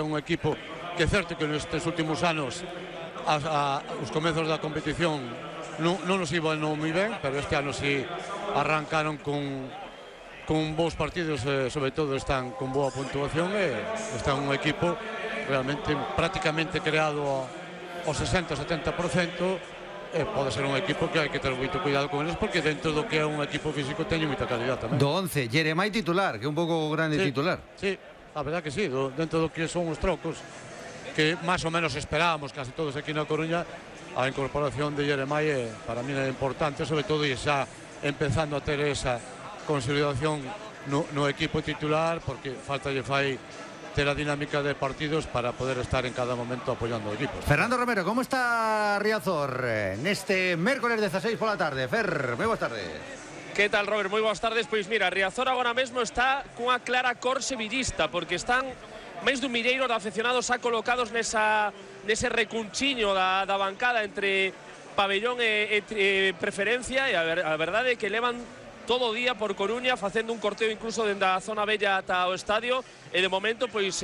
un equipo que é certo que nestes últimos anos os comezos da competición non nos iban moi ben, pero este ano sí arrancaron con bons partidos, sobre todo están con boa puntuación e están un equipo realmente prácticamente creado ao 60-70%. Pode ser un equipo que hai que ter moito cuidado con eles, porque dentro do que é un equipo físico teñe moita calidad tamén. Do 11, Jeremai titular, que é un pouco grande titular. Sí, a verdad que sí, dentro do que son os trocos que máis ou menos esperábamos casi todos aquí na Coruña, a incorporación de Jeremai para mí é importante, sobre todo e xa empezando a ter esa consolidación no equipo titular, porque falta lle fai ter a dinámica de partidos para poder estar en cada momento apoyando o equipo. Fernando Romero, como está Riazor neste mércoles 16 pola tarde? Fer, moi boas tardes. Que tal, Robert? Moi boas tardes. Pois mira, Riazor agora mesmo está cunha clara cor sevillista, porque están máis dun milleiro de aficionados xa colocados nese recunchiño da bancada entre pabellón e preferencia, e a verdade é que levan todo o día por Coruña facendo un corteo incluso dende a zona bella ata o estadio, e de momento pois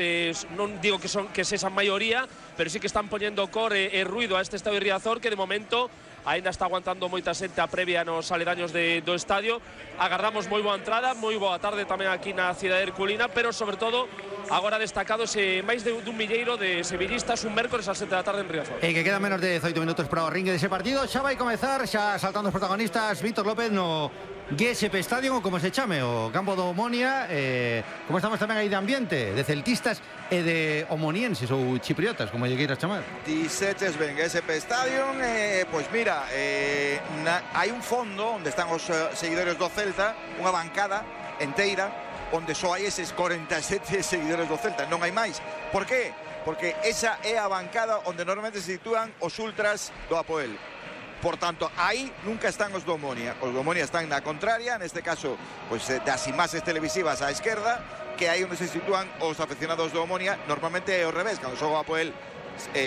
non digo que sexan maioría, pero sí que están poñendo cor e ruido a este estadio de Riazor, que de momento aínda está aguantando moita xente a previa nos aledaños do estadio. Agardamos moi boa entrada, moi boa tarde tamén aquí na cidade herculina, pero sobre todo agora destacados máis dun milleiro de sevillistas un mércoles ás 7 da tarde en Riazor. E que quedan menos de 18 minutos para o ringue dese partido. Xa vai comezar, xa saltando os protagonistas, Víctor López no GSP Stadium, ou como se chame, o campo do Omonia. Como estamos tamén aí de ambiente, de celtistas e de omonienses ou chipriotas, como lle queiras chamar. Diseches ben GSP Stadium, pois mira, hai un fondo onde están os seguidores do Celta, unha bancada enteira, onde só hai eses 47 seguidores do Celta, non hai máis. Por qué? Porque esa é a bancada onde normalmente se sitúan os ultras do Apoel. Por tanto, aí nunca están os do Omonia. Os do Omonia están na contraria, neste caso, pois das imaxes televisivas á esquerda, que aí onde se sitúan os aficionados do Omonia. Normalmente é ao revés, cando xoga o Apoel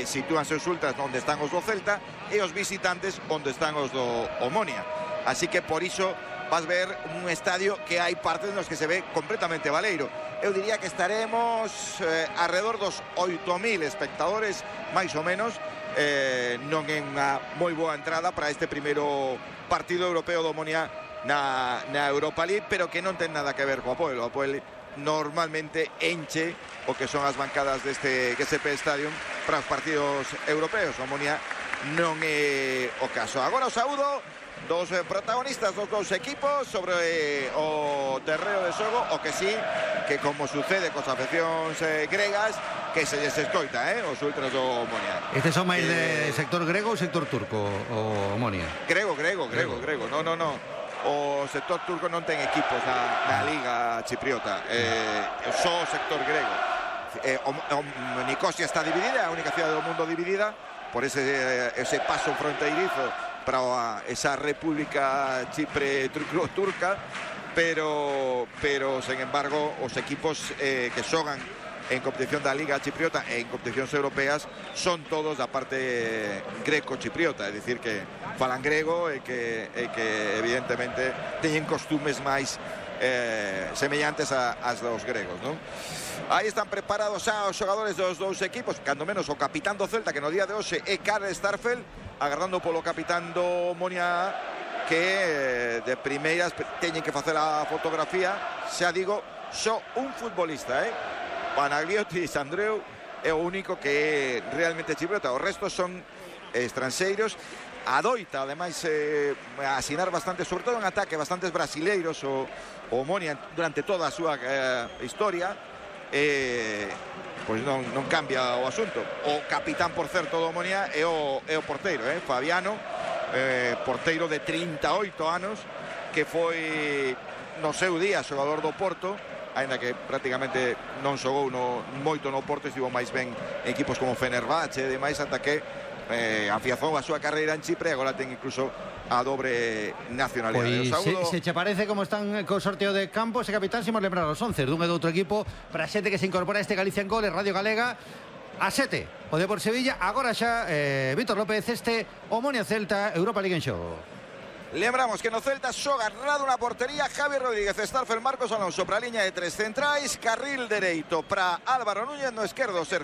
sitúanse os ultras onde están os do Celta e os visitantes onde están os do Omonia. Así que por iso vas ver un estadio que hai partes nos que se ve completamente baleiro. Eu diría que estaremos alrededor dos 8.000 espectadores, máis ou menos. Non é unha moi boa entrada para este primeiro partido europeo do Omonia na Europa League, pero que non ten nada que ver co Apoel. O Apoel normalmente enche o que son as bancadas deste GSP Stadium para os partidos europeos. O Omonia non é o caso. Agora o saúdo dos protagonistas dos dous equipos sobre o terreo de xogo, o que sí, que como sucede cos afeccións gregas, que se lles escoita, os ultras do Omonia. Estes son máis de sector grego ou sector turco, o Omonia? Grego. No. O sector turco non ten equipos na Liga Chipriota, só o sector grego. Nicosia está dividida, é a única cidade do mundo dividida por ese paso fronteirizo para esa república Chipre turca, pero sen embargo os equipos que xogan en competición da Liga Chipriota e en competicións europeas son todos da parte greco-chipriota, é dicir que falan grego e que evidentemente teñen costumes máis semellantes ás dos gregos, non? Aí están preparados xa os xogadores dos dous equipos, cando menos o capitán do Celta, que no día de hoxe é Karl Starfelt, agardando polo capitán do Omonia, que de primeiras teñen que facer a fotografía. Xa digo, só un futbolista, Panagliotis Andreu é o único que é realmente chipriota. O resto son estranxeiros. Adoita, ademais, asinar bastante, sobre todo en ataque, bastantes brasileiros o Omonia durante toda a súa historia. Pois non cambia o asunto. O capitán, por certo, do Omonia é o porteiro, Fabiano, porteiro de 38 anos, que foi no seu día xogador do Porto, aínda que prácticamente non xogou moito no Porto, estivo máis ben en equipos como Fenerbahce e demais, ata que afiazou a súa carreira en Chipre e agora ten incluso a dobre nacionalidade. Pois se che parece como están co sorteo de campos e capitán, se imos lembrar os 11 dun e do outro equipo para a xente que se incorpora a este Galicia en Gol e Radio Galega. A 7 o Depor Sevilla, agora xa Víctor López, este Omonia Celta, Europa League en xogo. Lembramos que no Celta xoga Rado na portería, Javi Rodríguez, Starfelt, Marcos Alonso para a liña de tres centrais, carril dereito para Álvaro Núñez, no esquerdo Sergio